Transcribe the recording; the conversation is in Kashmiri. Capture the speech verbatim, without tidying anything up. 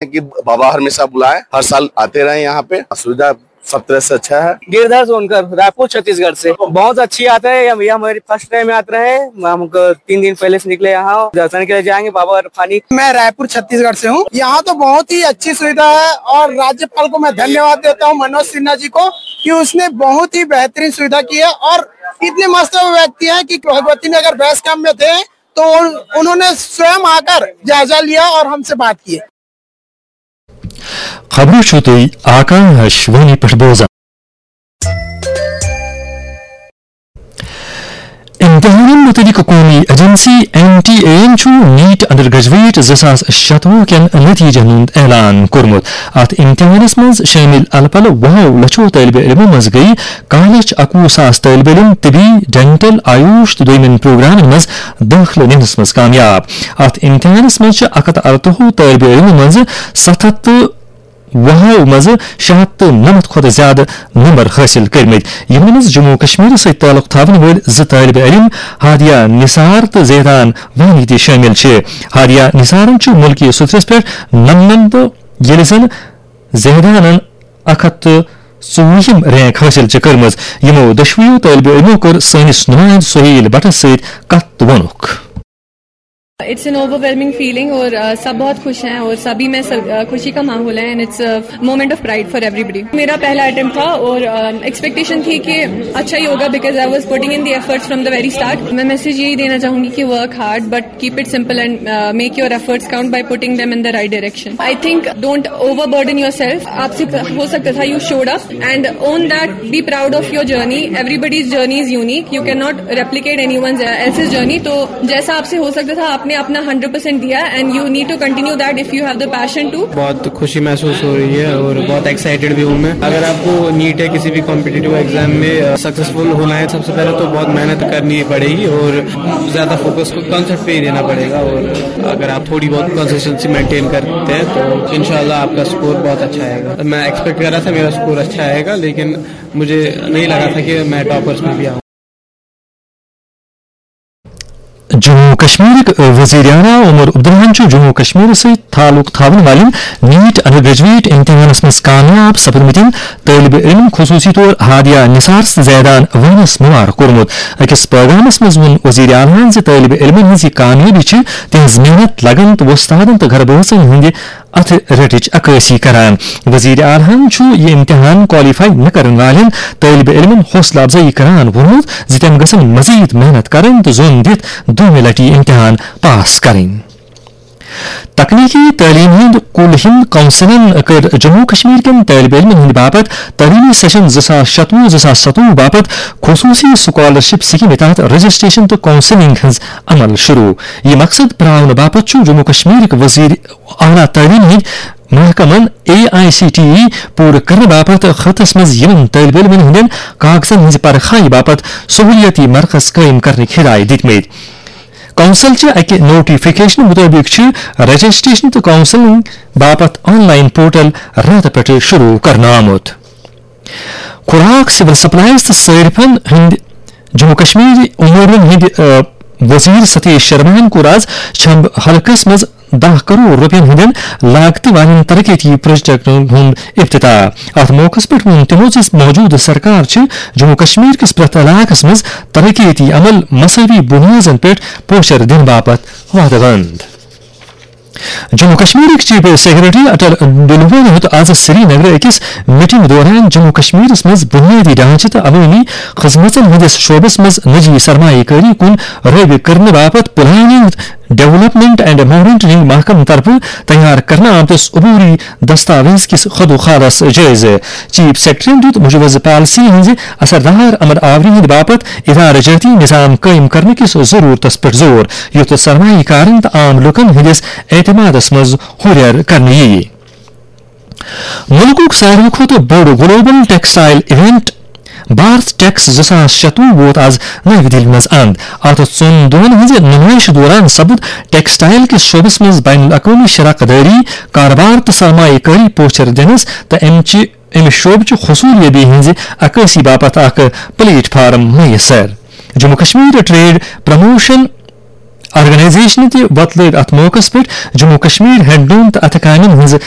कि बाबा हमेशा बुलाएं, हर साल आते रहें यहाँ पे। सुविधा सब तरह से अच्छा है। गिरधर सोनकर, रायपुर, छत्तीसगढ़ से। बहुत अच्छी यात्रा है, ये हमारी फर्स्ट टाइम यात्रा है। हम हमको तीन दिन पहले से निकले यहाँ, दर्शन के लिए जाएंगे बाबा बर्फानी। मैं रायपुर, छत्तीसगढ़ से हूँ। यहाँ तो बहुत ही अच्छी सुविधा है और राज्यपाल को मैं धन्यवाद देता हूँ, मनोज सिन्हा जी को, कि उसने बहुत ही बेहतरीन सुविधा की है। और इतने मस्त व्यक्ति हैं कि भगवती नगर बेस कैंप में थे तो उन, उन्होंने स्वयं आकर जायजा लिया और हमसे बात की। خبرو چھو تُہۍ آکاشوانی پٮ۪ٹھ بوزان۔ امتحانن متعلق قومی ایجنسی این ٹی اے ین چھُ نیٹ انڈر گریجویٹ زٕ ساس شتوُہ کٮ۪ن نتیجن ہُنٛد اعلان کوٚرمُت۔ اتھ امتحانس منٛز شٲمِل الہٕ پلہٕ وُہو لچھو طٲلبہِ علمو منٛز گٔیہِ کاہ لچھ اکوُہ ساس طٲلبہِ علم طبی، ڈینٹل، آیوش تہٕ دوٚیمٮ۪ن پروگرامن منٛز دٲخلہٕ نِنس منٛز کامیاب۔ اتھ امتحانس منٛز چھِ اکھ ہتھ ارتوُہ طٲلبہِ علمو منٛز ستھ ہتھ تہٕ وُہو منٛز شےٚ ہتھ تہٕ نَمَتھ کھۄتہٕ زیادٕ نمبر حٲصِل کٔرمٕتۍ، یِمن منٛز جموں و کشمیرس سۭتۍ تعلق تھاون وٲلۍ زٕ طٲلبہِ علم ہادیہ نثار تہٕ زیدان وانی تہِ شٲمِل چھِ۔ ہادیہ نثارن چھُ مُلکی سطحس پٮ۪ٹھ نَمنَمتھ، ییٚلہِ زن زیدانن اکھ ہتھ تہٕ ژوٚوُہِم رینک حٲصِل چھِ کٔرمٕژ۔ یِمو دۄشوٕیو طٲلبہِ علمو کٔر سٲنِس نُمایندٕ سہیل بٹس سۭتۍ کتھ تہٕ ووٚنُکھ۔ It's an overwhelming feeling اور uh, सब बहुत खुश हैं और सभी में सब uh, खुशी का माहौल है and it's a moment of pride for everybody। मेरा पहला अटेम्प्ट था और एक्सपेक्टेशन थी कि अच्छा ही होगा because I was putting in the efforts from the very start। मैं मैसेज यही देना चाहूंगी कि work hard but keep it simple and uh, make your efforts count by putting them in the right direction। I think don't overburden yourself। आपसे हो सकता था you showed up and own that, be proud of your journey। Everybody's journey is unique, you cannot replicate anyone's else's journey। तो जैसा आपसे हो सकता था आपने अपना हंड्रेड परसेंट दिया and you need to continue that if you have the passion to। बहुत खुशी महसूस हो रही है और बहुत एक्साइटेड भी हूँ मैं। अगर आपको नीट या किसी भी कॉम्पिटिटिव एग्जाम में सक्सेसफुल होना है सबसे पहले तो बहुत मेहनत करनी पड़ेगी और ज़्यादा फोकस को कॉन्सेप्ट पे ही देना पड़ेगा और अगर आप थोड़ी बहुत कंसिस्टेंसी मेंटेन करते हैं तो इंशाल्लाह आपका स्कोर बहुत अच्छा आएगा। मैं एक्सपेक्ट कर रहा था मेरा स्कोर अच्छा आएगा लेकिन मुझे नहीं लगा था कि मैं टॉपर्स में भी आऊँ। جموں و کشمیرٕکۍ وزیر اعلیٰ عمر عبداللہن چھُ جموں و کشمیر سۭتۍ تعلق تھاون والٮ۪ن نیٹ انڈر گریجویٹ امتحانس منٛز کامیاب سپدمٕتٮ۪ن طٲلبہِ علم خصوٗصی طور ہادیہ نثار تہٕ زیدان وانس مبارک کوٚرمُت۔ أکِس پیغامس منٛز ووٚن وزیر اعلیٰہن زِ طٲلبہِ علمن ہٕنٛز یہِ کامیٲبی چھِ تِہنٛز محنت، لگن تہٕ وۄستادن تہٕ گرٕ بٲژن ہٕنٛدِ اتھٕ رٔٹٕچ عکٲسی کران۔ وزیر اعلیٰ ہن چھُ یہِ امتحان کوالیفائی نہٕ کرن والٮ۪ن طٲلبہِ علمن حوصلہٕ افزٲیی کران ووٚنمُت زِ تِم گژھن مزید محنت کرٕنۍ تہٕ زوٚن دِتھ دوٚیمہِ لٹہِ یہِ امتحان پاس کرٕنۍ۔ تکنیکی تعلیم ہند کل ہند کونسلن کٔر جموں و کشمیر کٮ۪ن طٲلبہِ علمن ہٕنٛدِ باپتھ تعلیمی سیشن زٕ ساس شتوُہ زٕ ساس ستوُہ باپتھ خصوٗصی سکالرشپ سکیمہِ تحت رجسٹریشن تہٕ کونسلنگ ہٕنٛز عمل شروع۔ یہِ مقصد پراونہٕ باپتھ چھُ جموں و کشمیرٕکۍ وزیر اعلیٰ تعلیٖم ہٕنٛدۍ محکمن A I C T E پوٗرٕ کرنہٕ باپتھ خطس منٛز یِمن طٲلبہِ علمن ہٕنٛدٮ۪ن کاغذن ہٕنٛزِ پرکھایہِ باپتھ سہوٗلِیٲتی مرکز قٲیِم کرنٕکۍ ہدایت دِتمٕتۍ۔ کونسل چہِ اَکہِ نوٹیفکیشنہٕ مُطٲبِق چھِ رجسٹریشن تہٕ کونسلنگ باپتھ آن لائن پورٹل راتہٕ پٮ۪ٹھٕ شروٗع کرنہٕ آمُت۔ خوراک، سول سپلائز تہٕ صٲرفن ہٕنٛدۍ جموں کشمیر امورن ہٕنٛدۍ، آ، وزیر ستیش شرماہن کوٚر آز چھمب حلقس منٛز دَہ کرور رۄپین ہٕنٛدٮ۪ن لاگتہٕ والٮ۪ن ترقیتی پروجیکٹن ہُنٛد افتتاح۔ اتھ موقعس پٮ۪ٹھ ووٚن تِمو زِ موجودٕ سرکار چھِ جموں کشمیر کِس پرٛٮ۪تھ علاقس منٛز ترقیتی عمل مساوی بُنیادن پٮ۪ٹھ پوچھر دِنہٕ باپتھ وعدٕ بنٛد۔ جموں کشمیرٕکۍ چیف سیکرٹری اٹل ڈلوَن ہیوٚت آز سری نگرٕ أکِس میٹنگ دوران جموں کشمیرس منٛز بنیادی ڈھانچہٕ تہٕ عوٲمی خدمژن ہٕنٛدِس شعبس منٛز نجی سرمایہ کٲری کُن رٲغب کرنہٕ باپتھ پلاننگ، ڈیولپمنٹ اینڈ مانیٹرنگ محکمہٕ طرفہٕ تیار کرنہٕ آمتِس عبوری دستاویز کِس خدوخالس جٲیزٕ۔ چیف سیکرٹریَن دِیُت مجوزٕ پالیسی ہٕنٛزِ اثردار عمل آوری ہٕنٛدِ باپتھ ادارٕ جٲتی نظام قٲیِم کرنہٕ کِس ضروٗرتس پٮ۪ٹھ زور، یُتھ سرمایہ کارن تہٕ عام لوٗکن ہٕنٛدِس اعتمادس منٛز ہُرٮ۪ر کرنہٕ یِیہِ۔ مُلکُک ساروی کھۄتہٕ بوٚڑ global textile event Bharat Tex زٕ ساس شتوُہ ووت آز نَوِ دِلہِ منٛز اند۔ اتھ ژۄن دۄہن ہٕنٛزِ نُمٲیشہِ دوران سپُد ٹیکسٹائل کِس شعبس منٛز بین الاقوٲمی شراکت دٲری، کارٕبار تہٕ سرمایہ کٲری پوچھر دِنس تہٕ امہِ چہِ، امہِ شعبہٕ چہِ حصولیابی ہٕنٛزِ عکٲسی باپتھ اکھ پلیٹ فارم میسر۔ جموں کشمیر ٹریڈ پروموشن آرگنائزیشنہِ تہِ وۄتلٲو اتھ موقعس پٮ۪ٹھ جموں کشمیر ہینڈلوم تہٕ اتھٕ کامٮ۪ن ہٕنٛزٕ